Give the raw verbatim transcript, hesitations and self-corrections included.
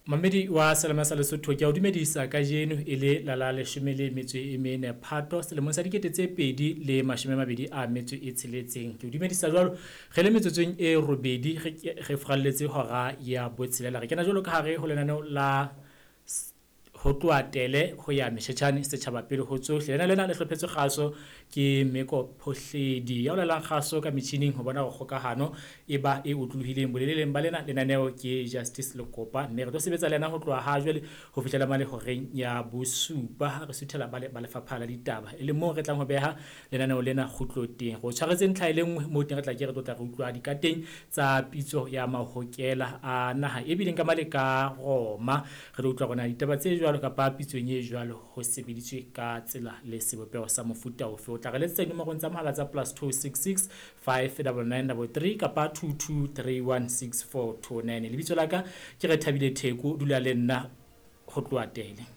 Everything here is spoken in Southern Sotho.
Mamedi wa Selema sa Lesotho, ke a o dumedisa kajeno e le la la leshome le metso e mene Phato selemong sa dikete tse pedi le mashome a mabedi a metso e tsheletseng. Ke o dumedisa jwalo re le metsotsong e robedi re re furalletse hora ya botshelela. Re kena jwalo ka hare ho lenaneo la ho tloha Tele ho ya Meshetjhane setjhaba pele ho tsohle. Lena lena le hlophetswe kgaso ke Meko Phohledi ya o laelang kgaso ka metjhining ho bona hore kgokahano e ba e otlolohileng. Boleleleng ba lena lenaneo ke Justice Lekopa, mme re tlo sebetsa le yena ho tloha ha jwale ho fihlela mane horeng ya bosupa ha re suthela ba ba lefapha la ditaba, e leng moo re tlang ho beha lenaneo lena kgutlo teng. Re o tshwaretse ntlha e le nngwe moo teng re tla ke re tlo tla re utlwa dikateng tsa pitso ya mahokela a naha e bileng ka male ka Roma. Re tlo utlwa hore na ditaba tse jwalo kapa pitsong e jwalo ho sebeditswe ka tsela le sebopeho sa mofuta ofe. O tla re letsetsa dinomorong tsa mohala tsa plus two six six five double nine double three kapa two two three one six four two nine. Lebitso la ka ke Rethabile Theko, dula le nna ho tloha Tele.